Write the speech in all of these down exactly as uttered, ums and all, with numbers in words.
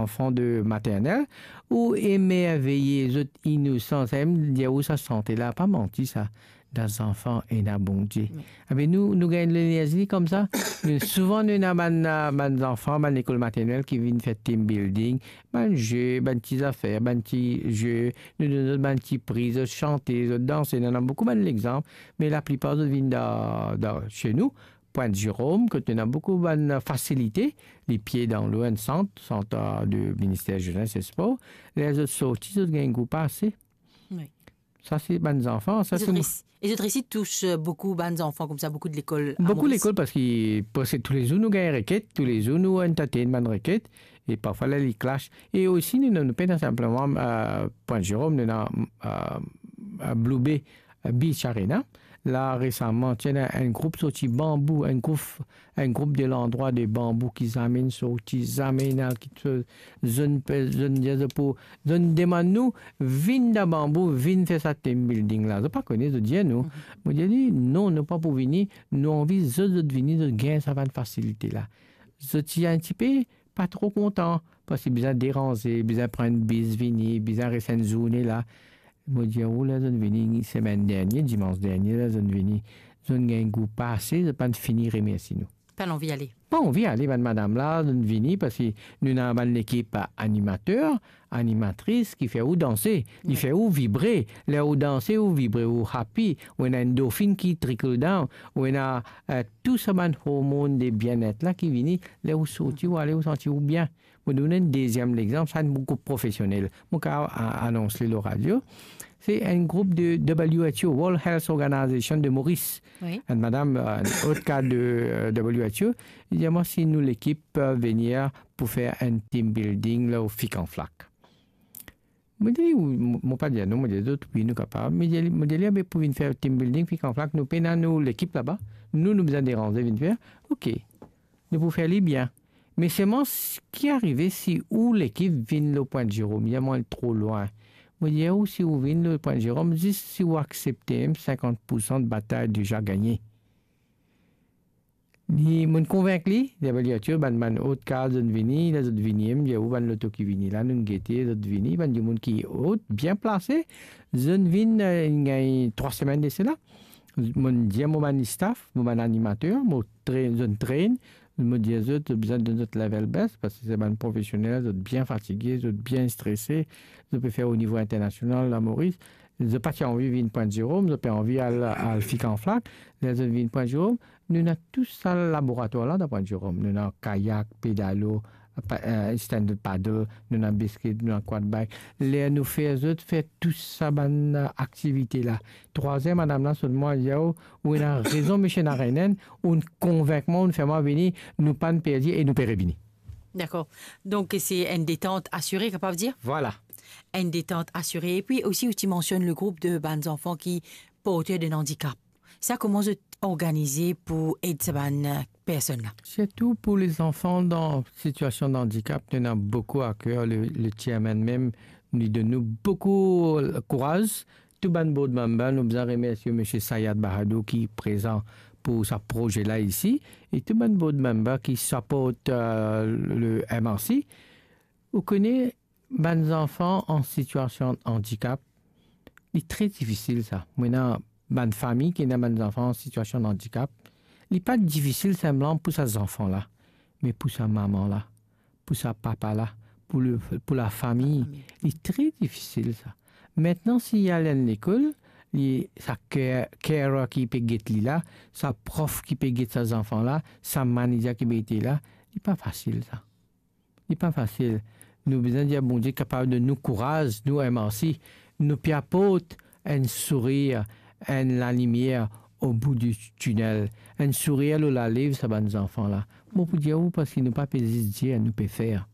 zanfan de maternel, ou emerveye zot inosans. Sa mem dir ou sa sante la, pa manti sa. Dan zanfan ena Bondie. Wi. Abe nou, nou gagn lenerzi koumsa. Nou, souvan nou ena bann, bann zanfan, bann lekol maternel ki vinn fer team building, bann ze, bann ti zafer, bann ti ze, nou donn zot bann ti pri, zot sante, zot danse. Nou ena boukou bann lexanp, me laplipar zot vinn dan, dan, se nou, Pointe Jérôme, kot nou ena boukou bann fasilite, li pie dan lo enn sant, sant, eh, de Minister Jeunesse et Sport. Ler zot sorti, zot gagn gou pase. Wi. Sa se bann zanfan, sa E se zot mo- res-, e zot resi tous, eh, boukou bann zanfan koumsa, boukou de lekol a Boukou Moris. Lekol, parski preske toulezour nou gagn reket, toulezour nou entertain bann reket, e parfwa la li clash. E osi nou, nou, nou pena sinpleman, eh, Pointe Jérôme, nou ena, eh, Blue Bay, eh, Beach Arena. La resaman, ti ena enn group sorti Banbou, enn group, enn group de landrwa de Banbou ki zame inn sorti, zame inn al kit soz, zot pe, zot dir zot pou, zot demann nou, vinn dan Banbou, vinn fer sa team building la. Zot pa kone, zot dir nou. Mhm. Mo dir li, non, nou pa pou vini, nou anvi zot, zot vini, zot gagn sa bann fasilite la. Zot ti enn tipe pa tro kontan, parski bizin deranze, bizin pran enn bis vini, bizin res enn zourne la. Mo dir ou, ler zot vini semenn dernie, dimans dernie, ler zot vini, zot gagn gou pase, zot pa'nn fini remersi nou. Pa'nn anvi ale. Pa anvi ale, bann madam la, zot vini parski nou ena bann lekip animater, animatris ki fer ou danse, li Wi. fer ou vibre. Ler ou danse, ou vibre, ou happy, ou ena endorfin ki trickle down, ou ena, eh, tou sa bann hormon de bienet la ki vini, ler ou sorti, ou ale, ou santi ou bien. Mo donn enn deziem lexanp, sa enn group profesionel. Mo kav a-, anons li lor radio. Se enn group de W H O, World Health Organization de Maurice. Wi. Enn madam, eh, enn ot kad de, eh, W H O, li dir mwa si nou lekip, eh, venir pou fer enn team building lor Fik an Flak. Mo dir li, ou, mo, mo pa dir non, mo dir zot, wi, nou kapav. Mo dir li, mo dir li, abe pou vinn fer team building, Fik an Flak, nou pena nou lekip laba. Nou, nou bizin deranze vinn fer. Ok. Nou pou fer li bien. Me selman, s-, ki arive si ou lekip vinn lor Pointe Jérôme, li dir mwa tro lwin. Mo dir ou, si ou vinn lor Pointe Jérôme, zis si ou aksepte, mem sinkant poursan de batay deza gagne. Li, mo'nn konvink li, li dir, bann, bann ot kad, zot vini, ler zot vini, mo dir ou, bann loto ki vini la, nou gete, zot vini, bann dimoun ki ot, bien plase, zot vinn, eh, gagn trwa semenn de sela. Mo'nn dir mo bann staff, mo bann animater, mo train, zot train, mo dir zot, zot bizin donn zot level best, parski se bann profesionel, zot bien fatige, zot bien strese, zot pe fer o nivo internasional, la Moris. Zot pa ti anvi vinn Pointe Jérôme, zot pe anvi al, al Fik an Flak. Ler zot vinn Pointe Jérôme, nou ena tou sa laboratwar la dan Pointe Jérôme. Nou ena kayak, pedalo, pa-, eh, stand-up paddle, nou ena basket, nou ena quad bike. Ler nou fer zot fer tou sa bann, eh, aktivite la. Trwaziem, madam la, sot mwa, li dir ou, ou ena rezon, misie ena enn, ou'nn konvink mwa, ou'nn fer mwa vini, nou pa'nn perdi e nou pe revini. Dakor. Donk, se enn detant asire, kapav dir? Vwala. Enn detant asire. Epi osi, ou ti mansionn le group de bann zanfan ki porter de andikap. Sa, kouma zot organize pou ed sa bann, eh, personn la? Sirtou pou lezanfan dan sitiasion d'andikap, nou ena boukou a ker, le, le chairman mem, li donn nou boukou kouraz. Tou bann board member, nou bizin remersie misie Sayed Bahadour ki prezan pou sa proze la isi, e tou bann board member ki support, eh, le M R C. Ou kone, bann zanfan an sitiasion andikap, li tre difisil sa. Mo ena bann fami ki ena bann zanfan an sitiasion andikap, li pa difisil sinpleman pou sa zanfan la, me pou sa mama la, pou sa papa la, pou le, pou lafami. Lafami. Li tre difisil sa. Aster, si li al enn lekol, li, sa care-, carer ki pe get li la, sa prof ki pe get sa zanfan la, sa manager ki pe ete la, li pa fasil sa. Li pa fasil. Nou bizin dir Bondie kapav donn nou kouraz, nou M R C, nou pe aport enn sourir, enn lalimier o bout di tinel, enn sourir lor lalev sa bann zanfan la. Mo pou dir ou, parski nou pa pe zis dir, nou pe fer.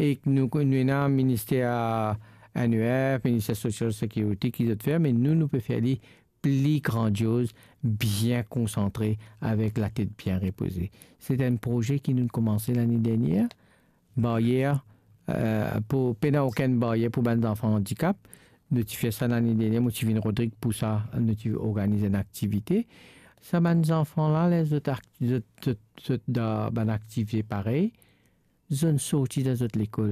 E nou, nou ena minister N E F, minister Social Security ki zot fer, me nou, nou pe fer li pli grandioz, bien konsantre, avek latet bien repoze. Se enn proze ki nou koumanse lane dernier. Baryer, eh, pou, pena okenn baryer pou bann zanfan andikap. Nou ti fer sa lane dernier, mo ti vinn Rodrig pou sa, nou ti organiz enn aktivite. Sa bann zanfan la, ler zot ak-, zot, zot, zot dan bann aktivite parey, zot sorti dan zot lekol.